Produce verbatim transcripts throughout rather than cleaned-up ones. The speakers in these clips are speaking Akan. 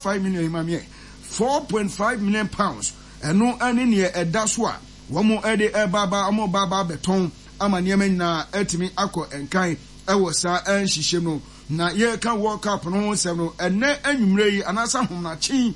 Five million imamie four point five million pounds ɛno ɛne neɛ ɛda so a wɔn ɛde ɛba ba wɔn ba ba abɛtɔn ama nneɛma nyinaa ɛtumi akɔ nkan ɛwɔ saa ɛnhyehyɛ mu. Na yɛreka World Cup no ho nsɛm no, ɛnɛ anwummerɛ yi anaasɛ ahomakyen,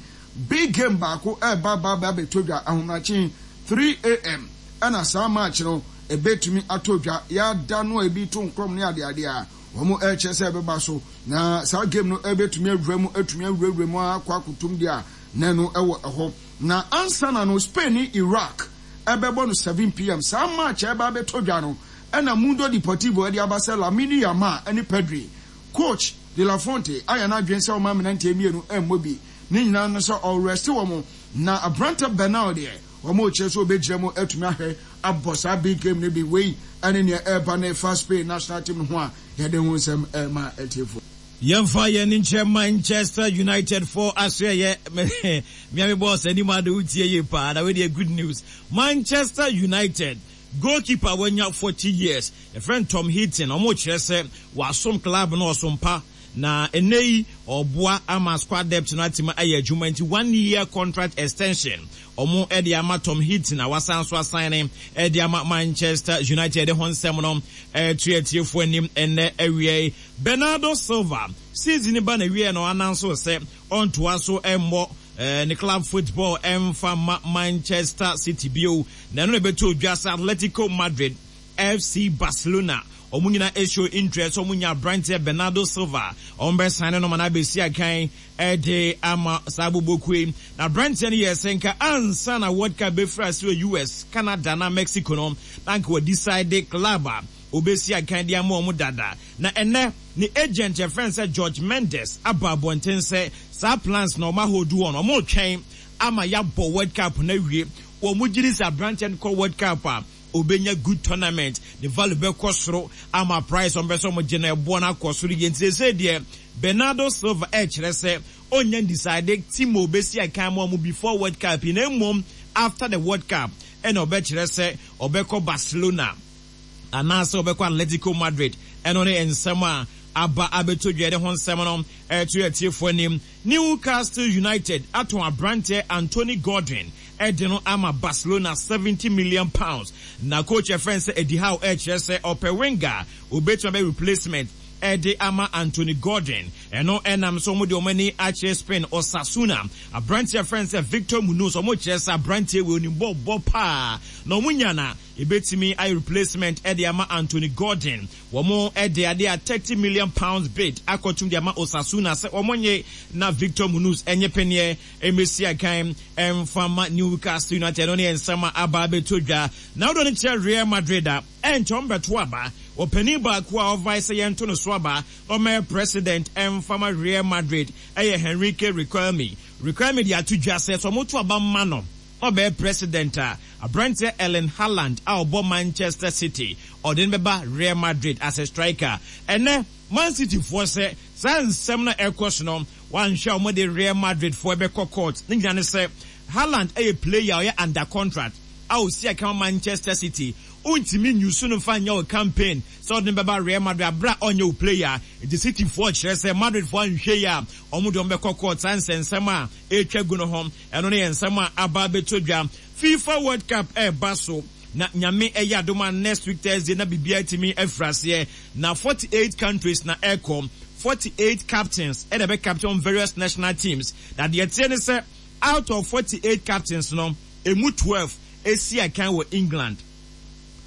big game baako ɛreba ba ba abɛtɔ dwa ahomakyen three a m. Ɛna saa match no ɛbɛtumi atɔ dwa. Yɛada no a ebi to nkorɔm ne adeade a wɔn ɛrekyerɛ sɛ ɛbɛba so, na saa game no ɛbɛtumi awura mu, atumi awurawura mu akɔ akotom deɛ a na ɛno ɛwɔ ɛhɔ. Na ansa na no, Spain ne Iraq ɛbɛbɔ no seven p m. Saa match a ɛba abɛtɔ dwa no, ɛna Mundo Deportivo ɛde aba sɛ Lamine Yamal ɛne Pedri, coach De La Fuente ayɛ n'adwene sɛ ɔma mmeranteɛ mmienu ɛmmɔ bi ne nyinaa no sɛ ɔrest wɔn, na aberante Bernal deɛ, wɔn rekyerɛ sɛ ɔbɛgyina mu atumi ahwɛ abɔ saa big game no bi. Wei ɛne nea ɛreba ne fa Spain national team no ho a yɛde ho nsɛm ɛrema atiefo. Yɛmfa yɛn nkyerɛ Manchester United fo asoɛyɛ miami boss anim ade wotie yie paa na wei good news. Manchester United goalkeeper wanya forty years, yɛfrɛ Tom Heaton, ɔmo kyerɛ sɛ wasom club no ɔsom pa na ɛnɛ yi ɔboa ama squad depth no atumi ayɛ adwuma, nti one year contract extension ɔmo ɛde ama Tom Heaton a wasan so asan ne ɛde ama Manchester United ho nsɛm no ɛto atiefoɔ anim ɛnɛ awia yi. Bernardo Silva season ba na wie no ananso sɛ ɔntoa so ɛmmɔ ɛɛ ne club football ɛmfa ma Manchester City bio, na ɛno na ɛbɛto odwa sɛ Atletico Madrid, F C Barcelona, ɔmo nyinaa show interest. Ɔmo nya aberanteɛ Bernardo Silva, ɔmo bɛ sign no ma na abɛsi akan ɛde ama saa abobokue. Na aberanteɛ no yɛ sɛ nka ansa na World Cup bɛfiri ase wɔ U S, Canada na Mexico no, na nka wɔ decide club a obɛsi akan de ama ɔmo dada. Na ɛnɛ ne agent yɛfrɛ sɛ George Mendes aba abɔnten sɛ saa plans na ɔmo ahodu wɔn, ɔmo twɛn ama yɛabɔ World Cup na wie. Wɔn mo gyiri sɛ aberanteɛ no kɔ World Cup a, obenya good tournament, ne value bɛkɔ soro ama price ɔmo bɛ sɛ ɔmo gye no ɛboɔ no akɔ soro yie. Nti sɛ deɛ Bernardo Silva ɛkyerɛ sɛ ɔnya decide team a obesi akan mu ɔmo before World Cup yi, na mmom after the World Cup ɛna ɔbɛkyerɛ sɛ ɔbɛkɔ Barcelona anaasɛ ɔbɛkɔ Atletico Madrid. Ɛno ne nsɛm a aba abɛtɔ dwa de ho nsɛm no ɛto atiefoɔ anim. Newcastle United atɔn aberanteɛ Anthony Gordon ɛde no ama Barcelona, seventy million pounds. Na coach ɛfrɛ sɛ Eddie Howe ɛkyerɛ sɛ ɔpɛ winger obetuma bɛ replacement ɛde ama Anthony Gordon. Ɛno ɛnam so wɔn de wɔn ani akyerɛ Spain Osasuna aberanteɛ frɛ sɛ Victor Munoz. Wɔn kyerɛ sɛ aberanteɛ wɔ onim bɔ bɔ paa na wɔn nya na ebetumi ayɛ replacement ɛde ama Anthony Gordon. Wɔn ɛde adeɛ a thirty million pounds bid akɔtum de ama Osasuna sɛ wɔn nye na Victor Munoz ɛnyɛ pɛneɛ ɛmɛsi akan ɛnfama Newcastle United. Ɛno ne nsɛm a aba abɛto dwa. Na wɔde no kyerɛ Real Madrid a ɛnkyɛn wɔn bɛto aba, ɔpanin baako a ɔvae sɛ yɛnto no so aba ɔmɛyɛ president ɛnfama Real Madrid ɛyɛ Enrique Riquelme. Riquelme de ato dwa sɛ sɛ ɔmo to aba mma no ɔbɛyɛ president a, aberanteɛ Erling Haaland a ɔbɔ Manchester City, ɔde no bɛba Real Madrid as a striker. Ɛnɛ Man City foɔ sɛ saa nsɛm no ɛkɔ so no, wanhwɛ a wɔde Real Madrid foɔ bɛkɔ court. Ne nyinaa ne sɛ Haaland ɛyɛ player a ɔyɛ under contract a osi aka Manchester City, ontumi nyusu no nfa nyɛ o campaign sɛ ɔde no bɛba Real Madrid abira ɔnyɛ o player. Nti City foɔ kyerɛ sɛ Madrid foɔ anhwɛ yi a, wɔn de wɔn bɛkɔ court. Saa nsɛnsɛm a ɛretwa gu no ho, ɛno no yɛ nsɛm a aba abɛtɔ dwa. FIFA World Cup ɛreba so na Nyame ɛyɛ adom a, next week Thursday na biribiara tumi afiri aseɛ. Na forty eight countries na ɛrekɔ, forty eight captains ɛna ɛbɛ captain various national teams. Na deɛ teɛ ne sɛ out of forty eight captains no, emu twelve esi akan wɔ England.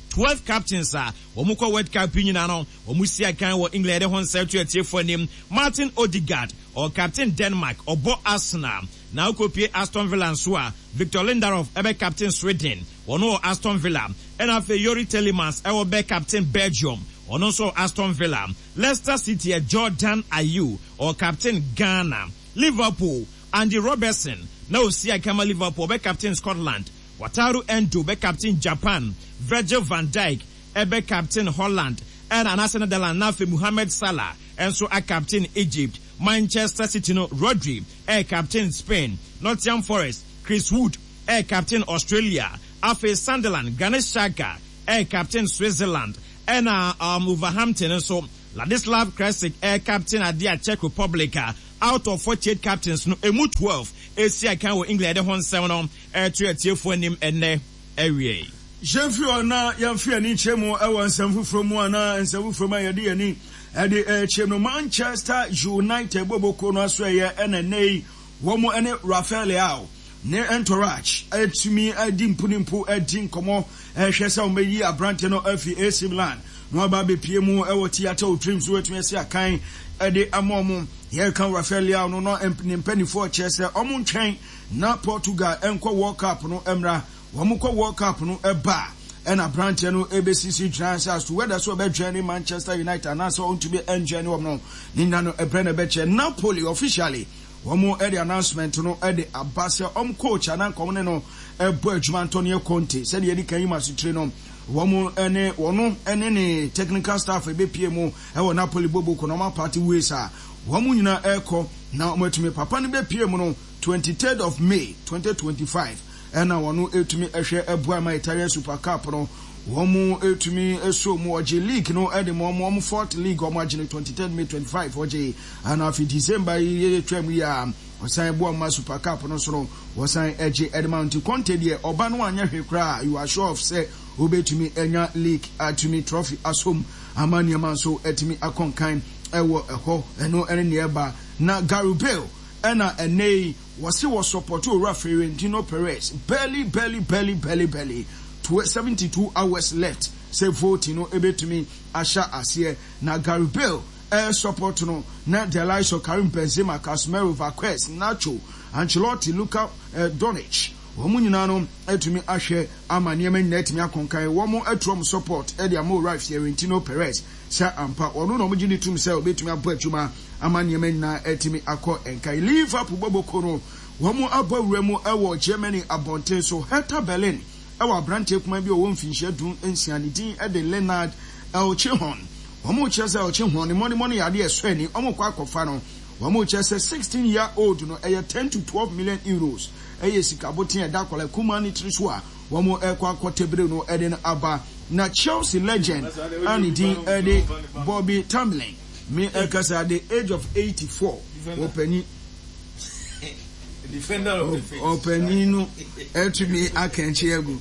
Twelve captains a wɔn kɔ World Cup yi nyinaa no, wɔn si akan wɔ England. Yɛde ho nsɛm to atiefoɔ anim. Martin Odegaard, ɔwɔ captain Denmark, ɔbɔ Arsenal. Na okopie Aston Villa nso a, Victor Lindelof ɛbɛ captain Sweden, wɔn wɔ Aston Villa. Ɛna afei Youri Tielemans ɛwɔ bɛ captain Belgium, ɔno nso wɔ Aston Villa. Leicester City ɛ Jordan Ayew, ɔwɔ captain Ghana. Liverpool, Andy Robertson na osi akama Liverpool, ɔbɛ captain Scotland. Wataru Endo bɛ captain Japan. Virgil van Dijk ɛbɛ captain Holland ɛna anaasɛ Netherlands. Na afei Mohamed Salah ɛnso a captain Egypt. Manchester City no, Rodri ɛyɛ captain Spain. Nottingham Forest, Chris Wood ɛyɛ captain Australia. Afei Sunderland, Granit Xhaka ɛyɛ captain Switzerland. Ɛna um, Wolverhampton nso, Ladislav Krejci ɛyɛ captain adeɛ a Czech Republic a Out of forty eight captains no, emu twelve esi akan wɔ England. Yɛde ho nsɛm no ɛto atiefoɔ anim ɛnnɛ awiei. Yɛmfiri hɔ na yɛmfa yɛn ani nkyerɛ mu wɔ nsɛm foforɔ mu anaa nsɛm foforɔ mu a yɛde yɛn ani de rekyerɛ mu no, Manchester United bɔbɔkuo no asoɛeɛ ɛna ɛnnɛ yi wɔn ne Rafael Leao ne entourage atumi adi mpunimpu adi nkɔmmɔ rehwɛ sɛ wɔbɛyi aberanteɛ no afi A C Milan na waba abɛpie mu wɔ Theatre of Dreams so atumi asi akan de ama wɔn. Yɛreka Rafael Leao no na ne mpanimfoɔ kyerɛ sɛ wɔn ntwɛn na Portugal nkɔ World Cup no mmra. Wɔn kɔ World Cup no ba a, ɛna aberanteɛ no ɛbɛsisi gyina sɛ as to whether sɛ ɔbɛjoin ne Manchester United anaasɛ ɔntumi ɛnjoin ne wɔn no, ne nyina no ɛbrɛ na ɛbɛkyɛ. Napoli officially wɔn ɛde announcement no ɛde aba sɛ ɔm coach anaa nkɔm ne no ɛbɔ adwuma, Antonio Conte, sɛdeɛ yɛde kan yi ma sotire no, wɔn ɛne wɔn ɛne ne technical staff ɛbɛpie mu ɛwɔ Napoli boboko na wɔn apart ways a wɔn nyinaa ɛrekɔ na wɔn atumi papa no bɛpie mu no twenty-third of May twenty twenty-five, ɛna wɔn etumi ɛhwɛ ɛboa ma Italian Super Cup no wɔn etumi eso mu. Ɔgye league no ɛde ma wɔn wɔn fourth league wɔn agye no twenty-third May twenty-five ɔgye, ɛna afi December yi yɛ twɛ mu yi a ɔsan boa ma Super Cup no so no wɔsan ɛgye ɛde ma. Nti Conte deɛ, ɔba no anyɛ hwee koraa, you are sure of sɛ obetumi ɛnya league atumi trophy asom ama nneɛma nso ɛtumi akɔnkan ɛwɔ ɛhɔ. Ɛno ɛne nea ɛba. Na Gareth Bale ɛna ɛnɛ yi wɔsi wɔ support owura Florentino Perez. Barely, barely, barely, barely, barely seventy two hours left sɛ vote no ebetumi ahyɛ aseɛ na Gareth Bale ɛɛ support no na the likes of Karim Benzema, Casemiro, Vazquez, Nacho, Ancelotti, Luka eh, Doncic, wɔn nyinaa no atumi ahwɛ ama nneɛma nyinaa atumi akɔnkan. Wɔn atu wɔn support ɛde ama owura Florentino Perez sɛ ampa ɔno na wɔn gye ne tum sɛ obetumi abɔ adwuma ama nneɛma nyinaa atumi akɔ nkan. Liverpool bɔbɔko no, wɔn abɔ wura mu ɛwɔ Germany abɔnten so. Hertha Berlin ɛwɔ aberanteɛ kuma bi a ɔwɔ mfinhyia du nsia, ne din ɛde Leonard Elchihon. Wɔn kyerɛ sɛ Elchihon ne mɔnemɔne yɛ adeɛ ɛsɔ ani. Wɔn kɔ akɔfa no. Wɔn kyerɛ sɛ sixteen year old no ɛyɛ ten to twelve million euros, ɛyɛ sika boten ɛda akwadaa kumaa ne tiri so a wɔn ɛkɔ akɔ no ɛde no aba. Na Chelsea legend a ne din ɛde Bobby Tambling, me ɛkasa at the age of eighty four, wɔpanyin ɔpanyin no ɛtumi akɛnkye agu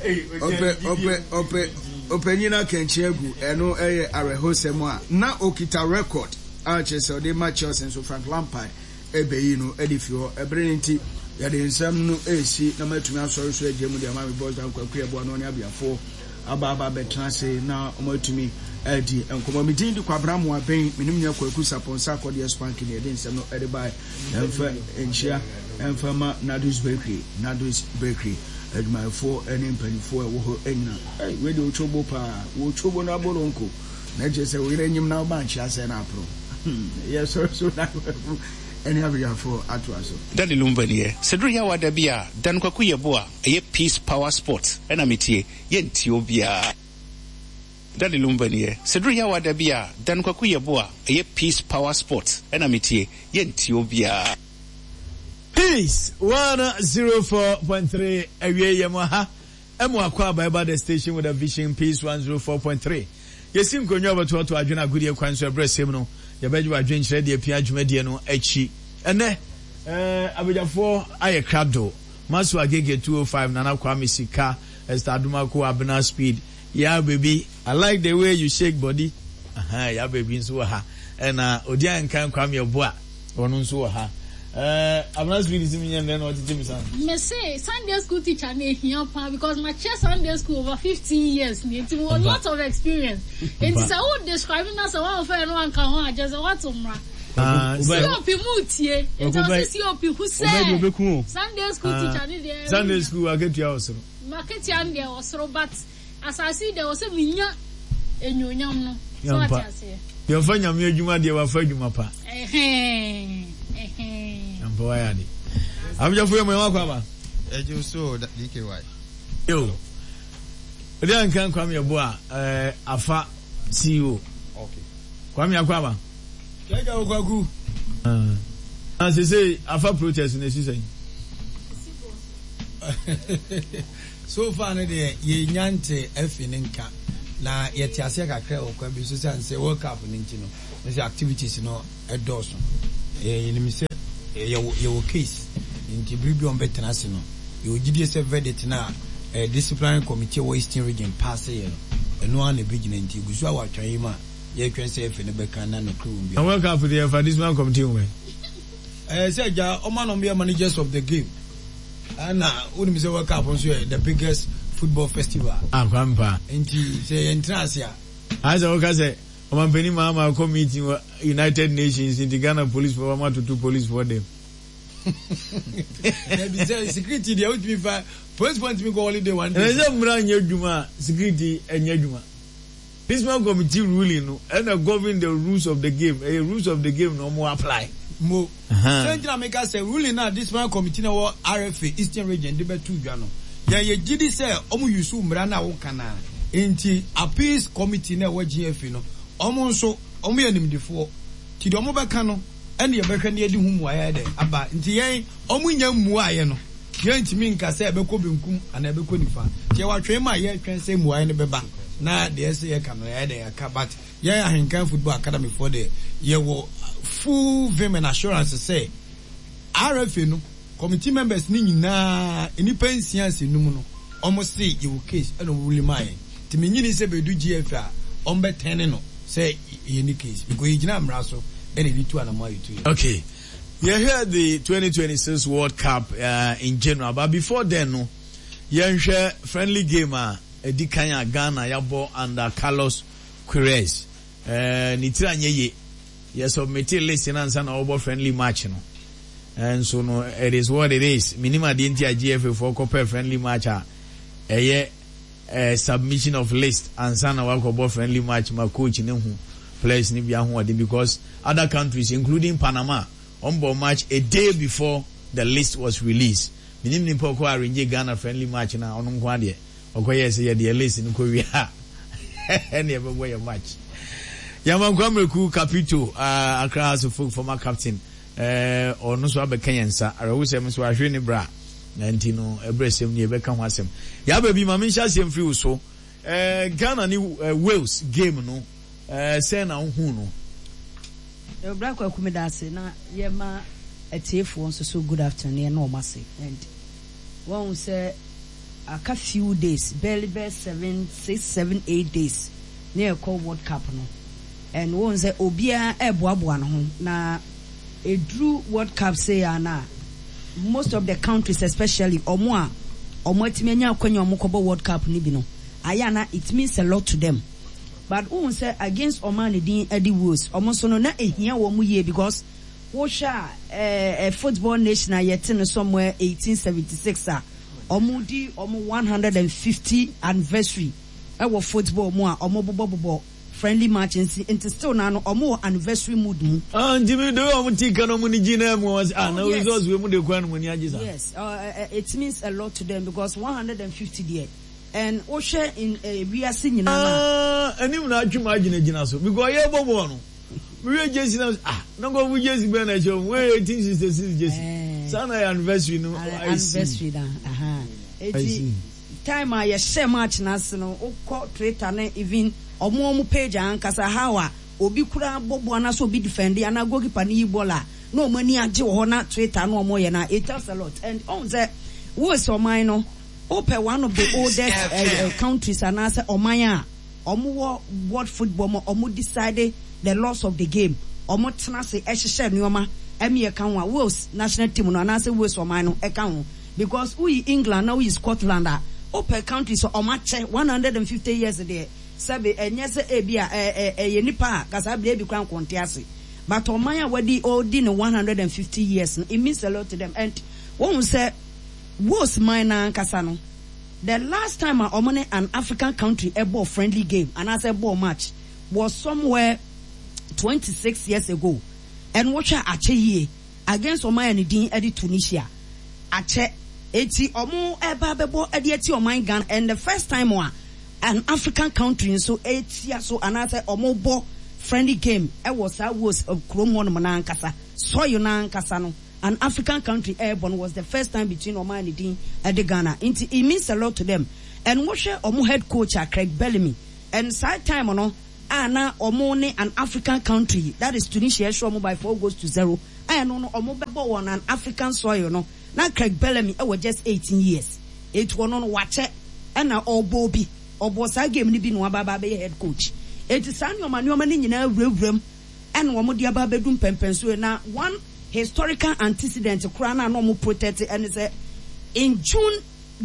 ɔpɛ ɔpɛ ɔpɛ ɔpanyin no akɛnkye agu. Ɛno ɛyɛ awerɛhosɛm a na okita record a kyerɛ sɛ ɔde ma Chelsea nso Frank Lampard ɛbɛyi no ɛde fi hɔ. Ɛbere no nti yɛde nsɛm no ɛresi na matumi asɔre so agye mu de ama me boss Dan Kwaku Ɛboa no ne abiafoɔ aba aba abɛtena ase na wɔn atumi adi nkɔmɔ. Mi din de Kwabena Moabɛn, menim nua Kwaku Sapɔnsa akɔdeɛ spank ne yɛde nsɛm no ɛde bae. Ɛmfa nkyia ɛmfa ma Nadus Bakery, Nadus Bakery adwumayɛfoɔ ne mpanimfoɔ a ɛwɔ hɔ nyina. Ɛy, wei de otwobo paa, wɔtwobo no aboro nko na kyerɛ sɛ wo yere nyim na woba nkyia sɛ no aporo. Yɛsɔre so na ɛne abiafoɔ atoa so. Daddy Lumba nie. Sɛ duru yɛ awada bi a, Dan Kwaku yɛ bo a ɛyɛ Peace Power Sport ɛna metie, yɛntie obiara. Daddy Lumba nie. Sɛ duru yɛ awada bi a, Dan Kwaku yɛ bo a ɛyɛ Peace Power Sport ɛna metie, yɛntie obiara. Peace one zero four point three, awie yɛ mu ha ɛmu akɔ aba ɛba the station with a vision, Peace one zero four point three. Yɛsi nkonnwa a wɔbɛtoato adwene agodie kwan so. Ɛberɛ sɛm no yɛbɛgye wɔ adwenkyerɛ deɛ pia dwumadie no akyi. Ɛnɛ ɛɛ abadwafoɔ ayɛ krado: Maso Agege two oh five, Nana Kwame Sika, Esther Adomako, Abena Speed, Ya Baby, I like the way you shake body. Aha, Ya Baby nso wɔ ha, ɛna odi ankan Kwame Ɔboa, ɔno nso wɔ ha. Ɛɛ Abena Speed si mi nyɛ ndɛ na ɔtete mi san. Mese Sunday school teacher na ehia paa because ma kyerɛ Sunday school over fifteen years ni, nti mo lot of experience. Nti sɛ wo describe na sɛ wɔn fɛ no anka ho a, kyerɛ sɛ wato mmra. C O P mu tie nti ɔsi C O P hu sɛ Sunday school teacher ni deɛ. Sunday school aketua wɔ soro. Maketua no deɛ wɔ soro, but asase deɛ wɔ sɛ minya enyonyam no so ate aseɛ. Yɛmfa Nyame adwuma deɛ wafa adwuma pa. Ɛhɛn ɛhɛn. Ampa, wayɛ ade. Abegyafo yɛ mo yɛn wakɔ aba. Ɛgye so D K Y. Yo. Ɔde anka Kwame Ɛbo a ɛɛ afa C E O. Okay. Kwame akɔ aba. Kɛkɛ o Kwaku. Na sese afa protest na esi sɛn? So far no deɛ, yɛnya nte afi ne nka na yɛte aseɛ kakra wɔ kwan bi so sane sɛ World Cup no nti no Ne sɛ activities no ɛdɔɔso. Yɛnim sɛ yɛwɔ yɛwɔ case nti bere bi a wɔbɛtena ase no, yɛwɔ gyidie sɛ verdict no a disciplinary committee wɔ Eastern Region pass yɛ no, ɛno ara na ɛbɛgyina. Nti egu so a wɔatwɛn yi mu a yɛretwɛn sɛ F A no bɛka na nokorɛ wɔ mu biara. Na World Cup deɛ yɛfa disciplinary committee ho bɛn? Ɛɛ sɛ agya ɔma na ɔmo yɛ managers of the game, ɛna wonim sɛ World Cup nso yɛ the biggest football festival. Ah, Kwame paa. Nti sɛ yɛntena ase a. Ayɛ sɛ woka sɛ ɔmampanin Mahama akɔ meeting wɔ United Nations nti Ghana police foɔ wɔn atoto police foɔ dɛm. Dabi, sɛ security deɛ wotumi fa police foɔ ntumi kɔ holiday one day. Ɛnɛ sɛ mmara nyɛ adwuma a, security nyɛ adwuma. Discipline committee ruling no ɛna govern the rules of the game, ɛyɛ rules of the game na wɔn apply. Mo sɛ nti na meka sɛ ruling na discipline committee na ɛwɔ R F A Eastern Region de bɛto dwa no, yɛn yɛ gyi di sɛ wɔn use mmara na wɔka na nti appeals committee na ɛwɔ G F A no, wɔn nso wɔn yɛ nimdefoɔ ti deɛ wɔn bɛka no ɛna yɛbɛhwɛ ne yɛde ho mmuaeɛ dɛ aba. Nti yɛn wɔn nya mmuaeɛ no, yɛntumi nka sɛ ɛbɛkɔ benkum anaa ɛbɛkɔ nifa, nti yɛwɔ atwɛn mu a yɛretwɛn sɛ mmuaeɛ no bɛba na deɛ ɛsɛ yɛka no yɛayɛ dɛ yɛaka. But yɛn Ahenkan Football Academy foɔ deɛ, yɛwɔ full vim and assurance sɛ R F A no committee members ne nyinaa, nnipa nsia nsi num no, wɔn se yɛwɔ case ɛna wɔn rule maa yɛn. Nti menyini sɛ bɛdu G F A a wɔn bɛtɛn no sɛ yɛ ni case because yɛgyina mmara so ɛna yɛde tu anamɔ a yɛtu yɛ. Okay, yɛhwɛ the twenty twenty-six World Cup uh, in general, but before then no, yɛnhwɛ friendly game a ɛdi kan a Ghana yɛabɔ under Carlos Queiroz. uh, ne tiri anyɛ yie, yɛ submit list na ansa na wɔbɔ friendly match no nso no, it is what it is. Minim adeɛ nti a G F A foɔ kɔpɛ friendly match a ɛyɛ uh, submission of list ansa na wakɔbɔ friendly match ma coach ne ho players ne bi ahoɔden, because other countries, including Panama, wɔn bɔ match a day before the list was released. Minim nipa ɔkɔ arrange Ghana friendly match na ɔno nko adeɛ ɔkɔyɛ sɛ yɛde yɛ list no kɔ wie a ɛne ɛbɛbɔ yɛ match. Yamankwa Mreku Capito, uh, Accra Hearts of Oak former captain, ɔno nso abɛka yɛn nsa. Awerɛhosɛm nso ahwere ne bra na nti no ɛberɛ sɛm ni yɛbɛka ho asɛm. Yɛaba bi ma menhyɛ aseɛ mfiri wo so. uh, Ghana ne uh, Wales game no, uh, sɛn na wohu no? Bra Kwaku, meda ase na yɛma atiefoɔ nso so good afternoon, yɛne ɔmo ase. And wɔn sɛ aka few days, barely bɛɛ seven, six, seven, eight days ne yɛkɔ World Cup no, and wɔn sɛ obiara ɛɛboaboa ne ho na eduru World Cup sei a na most of the countries, especially ɔmo a ɔmo atumi anya akɔnya ɔmo kɔbɔ World Cup no bi no, ayɛ ana it means a lot to them. But wohu sɛ against ɔman ne din ɛde Wales, ɔmo nso no na ehia wɔn yie because wohwɛ a ɛɛ ɛ football nation a yɛte no somewhere eighteen seventy-six a ɔmo di ɔmo one hundred and fifty anniversary ɛwɔ football mu a ɔmo bobɔbobɔ friendly match nti nti still na no ɔmo wɔ anniversary mood mu. Ah, nti mi de ɔmo ti kan ɔmo ni gyi na mu ɔmo sɛ ah, na Oh, yes. results wei mu de kwan no mo ni agye sa. Yes, uh, uh, it means a lot to them because one hundred and fifty deɛ, and wohwɛ in uh, wiase nyinaa na. Ah, anim na atwi mu agyinagyina so because ɔyɛ bɔ bɔɔl no, mewie jersey na ah, na nkɔfo jersey bɛn na ɛhyɛ wɔn wey eighteen sixty six jersey Eh. saa na yɛ anniversary no. I see. Anniversary na aha. I Eti see. Time a yɛhyɛ match n'ase no, wokɔ Twitter ne even ɔmo ɔmo page ankasa, how a obi kura bɔ bɔ anaasɛ obi defend anaa goalkeeper ne yi bɔɔl a na ɔmo ani agye wɔ hɔ na Twitter na ɔmo yɛ na it tells a lot. And ɔmo sɛ Wales ɔman no, wopɛ one of the oldest uh, uh, countries anaasɛ ɔman a ɔmo wɔ world football mu, ɔmo decide the laws of the game, ɔmo tena ase ɛhyehyɛ nneɛma ɛmi ɛka ho a Wales national team no anaasɛ Wales ɔman no ɛka ho, because woyi England na woyi Scotland a, wopɛ countries a ɔmo akyɛ one hundred and fifty years deɛ, sɛbi ɛnyɛ sɛ ebi a ɛ ɛ ɛyɛ nipa a kasa abiri ebi kora nkɔnte ase, but ɔman a wadi ɔdi ne one hundred and fifty years no, it means a lot to them. And wɔn sɛ Wales man na ankasa no, the last time a ɔmo ne an African country ɛbɔ friendly game anaasɛ ɛbɔ match was somewhere twenty six years ago, and wɔhwɛ akyɛ yie against ɔman a ne din ɛde Tunisia. Akyɛ eti ɔmo ɛba abɛbɔ ɛde eti ɔman Ghana, and the first time a an African country nso etia so anaasɛ ɔmo bɔ friendly game ɛwɔ saa Wales kurom hɔnom n'ankasa soil n'ankasa no, an African country ɛɛbɔ no was the first time between ɔman a ne din ɛde Ghana. Nti it means a lot to them. And wɔhwɛ ɔmo head coach a Craig Bellamy, and saa time no a na ɔmo ne an African country that is Tunisia ɛhyɛ ɔmo by four goals to zero a ɛno no ɔmo bɛbɔ wɔ an African soil no na Craig Bellamy ɛwɔ just eighteen years etu ɔno no wakyɛ ɛna ɔbɔ bi ɔbɔ saa game no bi na waba aba abɛyɛ head coach eti saa nneɛma nneɛma no nyinaa wurawura mu ɛna wɔn de aba abɛdu mpɛmpɛnso na one historical antecedent koraa na na wɔn protect ɛne sɛ in June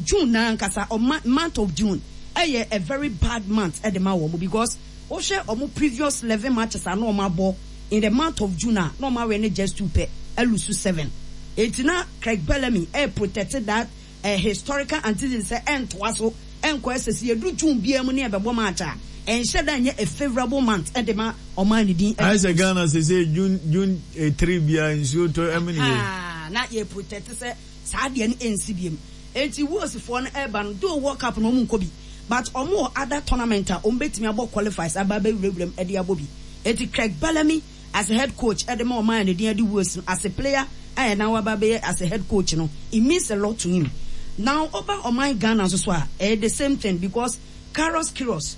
June na ankasa ɔma month of June ɛyɛ a very bad month ɛde ma wɔn because wohwɛ wɔn previous eleven matches a na wɔn abɔ in the month of June a na wɔn awɛ ne just two pɛ ɛ lose seven eti na Craig Bellamy ɛ protect that uh, historical antecedent sɛ ɛntoa so ɛnkɔ ɛsɛ sɛ yɛdu June biara mu ne ɛbɛbɔ match a ɛnhyɛ da nyɛ a favourable month ɛde ma ɔman ne din. Ayɛ sɛ Ghana sɛ sɛ June June eh, three bia nsuo tɔ ɛmu ne yɛ. Ah, na yɛ protect sɛ saa deɛ no ɛnsi biem enti Walesfoɔ no ɛreba no though World Cup no ɔmo nkɔ bi but ɔmo wɔ other tournament a ɔmo bɛtumi abɔ qualifiers aba abɛwurawura mu ɛde abɔ bi eti Craig Bellamy as a head coach ɛde ma ɔman ne din ɛde Wales no as a player a ɛna waba abɛyɛ as a head coach no it means a lot to him now ɔba ɔman Ghana nso so a ɛyɛ the same thing because Carlos Queiroz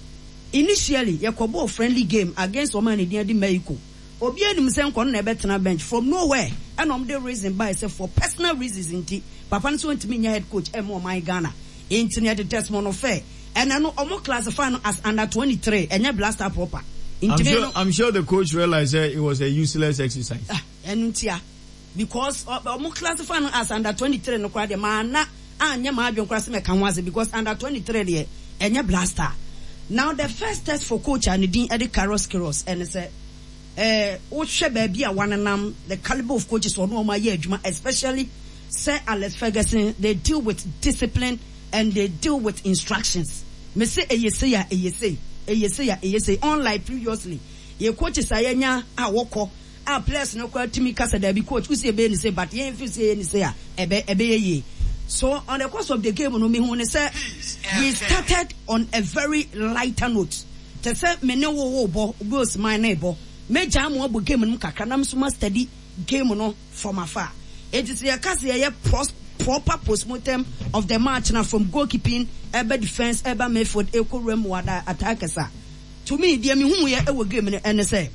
initially yɛkɔbɔɔ friendly game against ɔman ne din ɛde Mexico obi anim sɛ nkɔ no na ɛbɛtena bench from nowhere ɛna ɔmo de reason by sɛ for personal reasons nti papa no sɛ ɔntumi nyɛ head coach ɛma ɔman Ghana nti no yɛde Desmond Ofei ɛna no ɔmo classify no as under twenty three ɛnyɛ Black Star proper I'm nti sure, no I'm sure the coach realized that it was a useless exercise. Ah, ɛno ntia because ɔmo classify no as under twenty three no koraa deɛ maa na anyɛ maa adwene koraa sɛ mɛka ho ase because under twenty three deɛ ɛnyɛ Black Star now the first test for coach a ne din ɛde Carlos Queiroz ɛne sɛ ɛɛ wohwɛ baabi a wanenam the calibre of coaches ɔno ɔmo ayɛ adwuma especially Sir Alex Ferguson they deal with discipline and they deal with instructions me say ɛyɛ sei a ɛyɛ sei ɛyɛ sei a ɛyɛ sei unlike previously yɛ coaches a yɛnya a wɔkɔ a players no koraa tumi kasa daabi coach wosi ɛbɛyɛ ne sei but yɛn fi si ɛyɛ ne sei a ɛbɛ ɛbɛyɛ yie so on the course of the game no mehu ne sɛ we started on a very lighter note te sɛ me ne wo wo bɔ obi osiman ne bɔ megya mo abɔ game no mu kakra na nso ma study game no from afar eti sɛ yɛka sɛ yɛyɛ pros proper postmortem of the match na from goalkeeping ɛbɛ defence ɛbɛ midfield ɛkɔ wura mu wada attackers a to me deɛ mehu yɛ ɛwɔ game no ɛne sɛ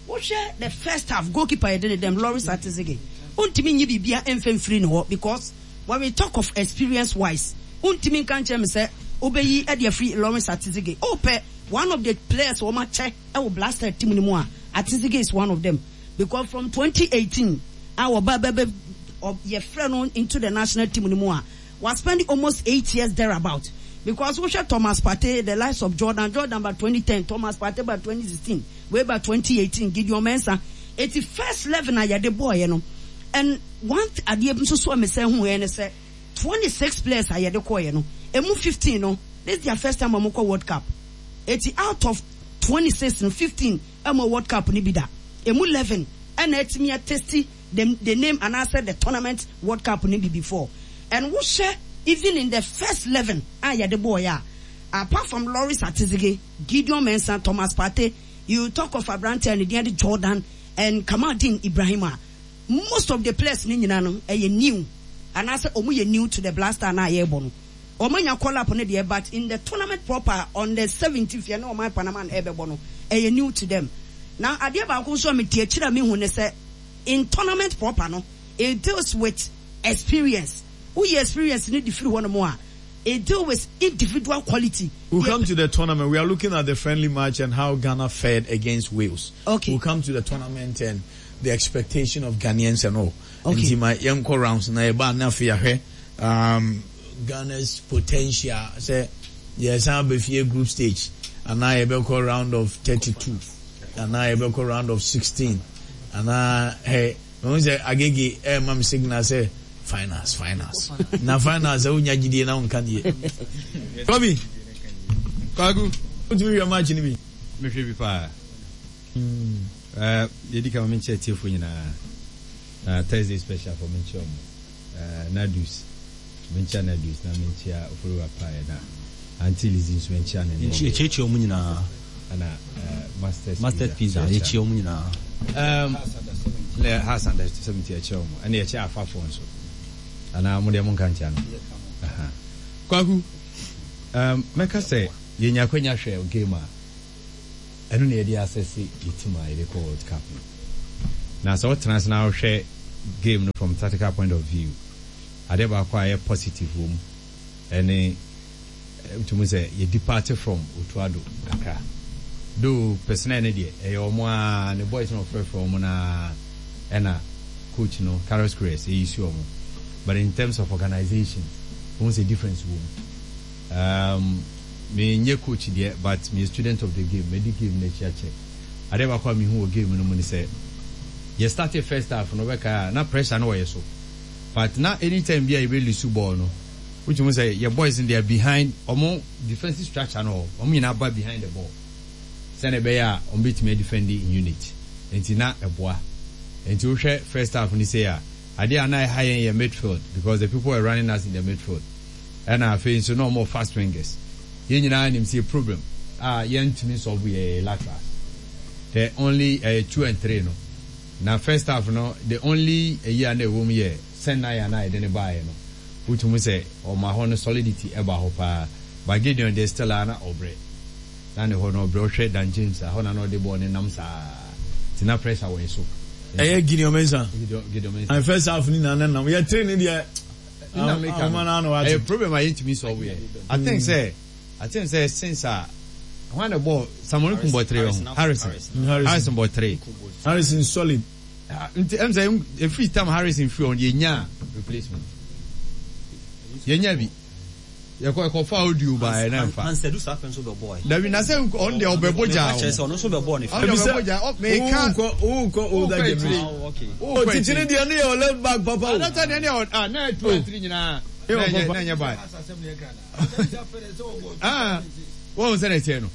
wohwɛ the first half goalkeeper yɛde ne dɛm Lawrence Atizige wontumi nyi biribia ɛmfɛ mfiri ne hɔ because when we talk of experience wise wontumi nka nkyerɛ me sɛ wobɛyi ɛde afiri Lawrence Atizige wopɛ one of the players wɔn akyɛ ɛwɔ Black Star team no mu a Atizige is one of them because from twenty eighteen a wɔba bɛbɛ yɛfrɛ no into the national team no mu a was spending almost eight years thereabout because wohwɛ Thomas Partey the likes of Jordan Jordan by twenty ten Thomas Partey by twenty sixteen way by twenty eighteen Gideon Mensah eti first eleven a yɛde bɔɔyɛ no and one adeɛ nso so a mesɛ hu yɛ ne sɛ twenty six players a yɛde kɔɔyɛ no emu fifteen no this is their first time a wɔn kɔ World Cup eti out of twenty six no fifteen ɛmo World Cup ni bi da emu eleven ɛna ɛtumi atesti the the name anaasɛ the tournament World Cup ni bi before and wohyɛ even in the first eleven a yɛde bɔɔyɛ a apart from Lawrence Atizige Gideon Mensah Thomas Partey you talk of aberante a ne din de Jordan and Kamaldeen Ibrahim a most of the players ne nyinaa no ɛyɛ new anaasɛ ɔmo yɛ new to the Black Star na yɛrebɔ no ɔmo anya call up no deɛ but in the tournament proper on the seventeenth yɛ ne ɔman Panama na ɛbɛbɔ no ɛyɛ new to them na adeɛ baako nso a mete akyire a mehu ne sɛ in tournament proper no it deals with experience woyɛ experience ne de firi hɔ nom a it deal with individual quality. We'll come to the tournament. We are looking at the friendly match and how Ghana fared against Wales. Okay. We'll come to the tournament and the expectation of Ghanaians and all. Okay. Nti ma yɛnkɔ rounds na yɛba na afei yɛahwɛ um, Ghana's potential sɛ yɛsan abɛfie group stage anaa yɛbɛkɔ round of thirty-two anaa yɛbɛkɔ round of sixteen anaa hey mehu sɛ Agege ɛɛma me signal sɛ finals finals na finals sɛ wonya gyidie na wonka deɛ Kobi Kwaku. wotumi hwɛ match no bi Mehwɛ bi paa. Uh, yɛdi ka ma menkyɛ atiefo nyinaa. Uh, Thursday special for menkyɛ ɔmo. Uh, Nadus. Menkyɛ Nadus na menkyɛ Oforiwa Pae na Auntie Lizzie nso menkyɛ ne ne. Yɛkyiakyia ɔmo nyinaa. Ɛna uh, Masters Masters Pizza yɛkyia ɔmo nyinaa. Um, ne House under seventy yɛkyɛ ɔmo. Ɛna yɛkyɛ afafoɔ nso. Anaa mo deɛ monka nkyia no. Aha. Kwaku, um, mɛka sɛ yɛnya akwanya hwɛ game a Ɛno na yɛde assess yɛ team a yɛde kɔ World Cup no. Na sɛ wotena ase na wohwɛ game no from tactical point of view, adeɛ baako a ɛyɛ positive wɔ mu ɛne wotumi sɛ yɛ depart from Otto Addo kakra. Though personnel no deɛ ɛyɛ wɔn ara, ne boys no ɔfrɛfrɛ wɔn no ara ɛna coach no Carlos Queiroz ɛyi si wɔn. But in terms of organisation, wohu sɛ difference wɔ mu. Um, menyɛ coach deɛ, but meyɛ student of the game. Madi game no akyi akyɛ. Adeɛ baako a mehu wɔ game no mu ne sɛ, yɛ started first half no, wobɛkae a, na pressure no wɔ yɛ so. But na anytime bi a yɛbɛ lose ball no, wotumi hu sɛ yɛ boys no, they are behind, wɔn defensive structure no hɔ, wɔn nyinaa ba behind the ball. Sɛnea ɛbɛyɛ a wɔn bɛtumi adefend in unit. Nti na ɛboa. Nti wohwɛ first half no sei a, adeɛ a na ɛha yɛn yɛ midfield because the people were running us in the midfield. Ɛna afei nso na wɔn wɔ fast wingers. Yɛn nyinaa nim sɛ yɛ problem a yɛntumi solve yɛ laterals. The only ɛyɛ two and three no. Na first half no, the only ɛyi a na ɛwɔ mu yɛ Senaya na yɛde no baeɛ no. Wotumi sɛ ɔma hɔ no solidity ɛba hɔ paa. But Gideon deɛ still a na ɔbrɛ. Na ne hɔ no ɔbrɛ, wohwɛ Dan James a, hɔ na na ɔde bɔɔl no nam saa. Nti na pressure wɔ yɛ so. Ɛyɛ Gideon Mensah. Gideon, Gideon Mensah. And first half ni na na nam. Yɛ three ni deɛ. Nna meka no, ɛyɛ problem a yɛntumi solve yɛ. I think sɛ, I think sɛ since a, hwan na ɛbɔɔ, Samuel Nkum bɔ three ɔho, Harrison, Harrison bɔ three. Harrison solid. Nti ɛm sɛ ɛfiri tam Harrison firi hɔ no yɛnyaa replacement. Yɛnyaa bi. Yɛkɔ ɛkɔfa audio baeɛ na ɛmfa. Ansɛdu saa pɛ nso bɛbɔɔ ɛ. Dabi na sɛ ɔno deɛ ɔbɛbɔ gyaa Kyerɛ sɛ ɔno nso bɛbɔɔ ne Ɔno deɛ ɔbɛbɔ gyaa ɔ meka. Wokɔ wokɔ older generation. Oh, okay. Oh, titiri ne deɛ ne yɛ left back papa o. Anata deɛ ne yɛ ah na two and three nyinaa. Na ɛnyɛ na ɛnyɛ bad. Ah, wɔn sɛ na ɛteɛ no.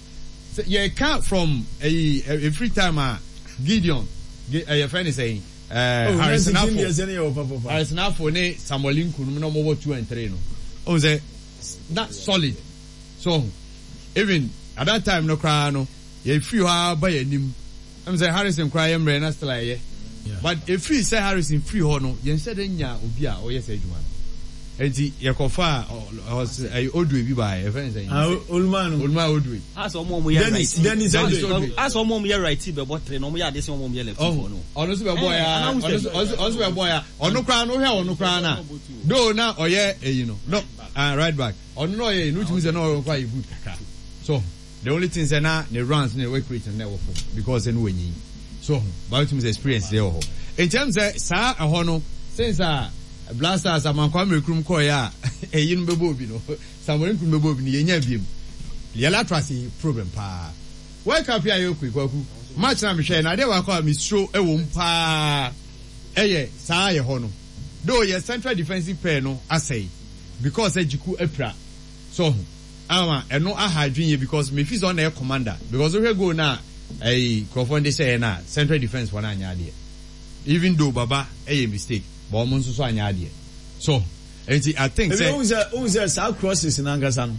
Sɛ yɛka from ɛyi every time a Gideon ɛyɛ fɛn ne sɛn. Eh, Harrison Afful, Harrison Afful ne Samuel Nku no na wɔn wɔ two and three no. Ohun sɛ na solid so even at that time no koraa no yɛ firi hɔ ara ba yɛ anim. Ɛm sɛ Harrison koraa yɛ mmerɛ na still ayɛ. But efiri sɛ Harrison firi hɔ no yɛn hyɛ dɛ nya obi a ɔyɛ sɛ adwuma no. Enti yɛkɔfa ɛyɛ Odue bi baeɛ yɛfrɛ no sɛn? Ah, Olumanu. Olumanu Odue. Asɛ ɔmo a ɔmo yɛ Dennis righty. Dennis Dennis Odue. Odue. Asɛ ɔmo a ɔmo yɛ righty bɛbɔ three na ɔmo yɛ ade sen ɔmo a ɔmo yɛ lefty foɔ no. Ɔno nso bɛbɔ Eh, ya anaa ɔno wosɛ nso ɔno nso bɛbɔ ya ɔno koraa no wohwɛ ɔno koraa na though na ɔyɛ eyi no no ah right back ɔno na ɔyɛ eyi no wotumi sɛ na ɔyɛ koraa yɛ good kakra so the only thing sɛ na ne runs ne work rate no na ɛwɔ fam because ɛno wanyin so but wotumi sɛ experience deɛ wɔ hɔ nti ɛm sɛ saa ɛhɔ no since a Black Stars Amankwa Mmerekurum kɔɔeɛ a eyi no bɛbɔ obi no Samuel Nkum bɛbɔ obi no yɛnya biem yɛ lateral yi problem paa World Cup yi a yɛrekɔ yi Kwaku match na mehwɛ na adeɛ baako a mesuro ɛwɔ mu paa ɛyɛ saa yɛ hɔ no though yɛ central defensive pair no asɛe because sɛ Jiku apira so ho ama ɛno aha adwene yɛ because mefi sɛ ɔna yɛ commander because wohwɛ goal na ɛyi nkurɔfoɔ no de hyɛɛ no a central defence foɔ no anyɛ adeɛ even though Baba ɛyɛ mistake but ɔmo nso so anyɛ adeɛ so nti I think Ebi sɛ ohun sɛ ohun sɛ saa crosses n'ankasa no.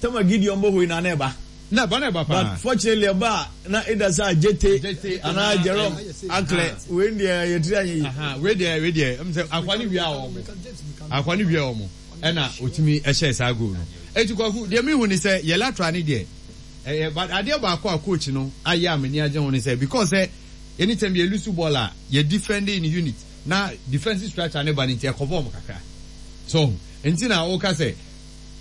Tama Gideon bɔ hɔ yi na na ɛba. Na ɛba na ɛba paa. But fortunately ɛba a na either sɛ Ajete Ajete anaa anaa Jerome Akle wei deɛ yɛtiri anyɛ yie. Aha, wei deɛ wei deɛ ɛm sɛ akwa ne wia wɔn akwa ne wia wɔn ɛna otumi ɛhyɛ saa goal no eti Kwaku deɛ mi hu ni sɛ yɛ lateral ne deɛ ɛyɛ but adeɛ baako a coach no ayɛ a m'ani agye ho ne sɛ because sɛ anytime yɛ lose ball a yɛ defend in unit na defensive structure ne ba ne nti ɛkɔbɔ wɔn kakra so nti na ɔka sɛ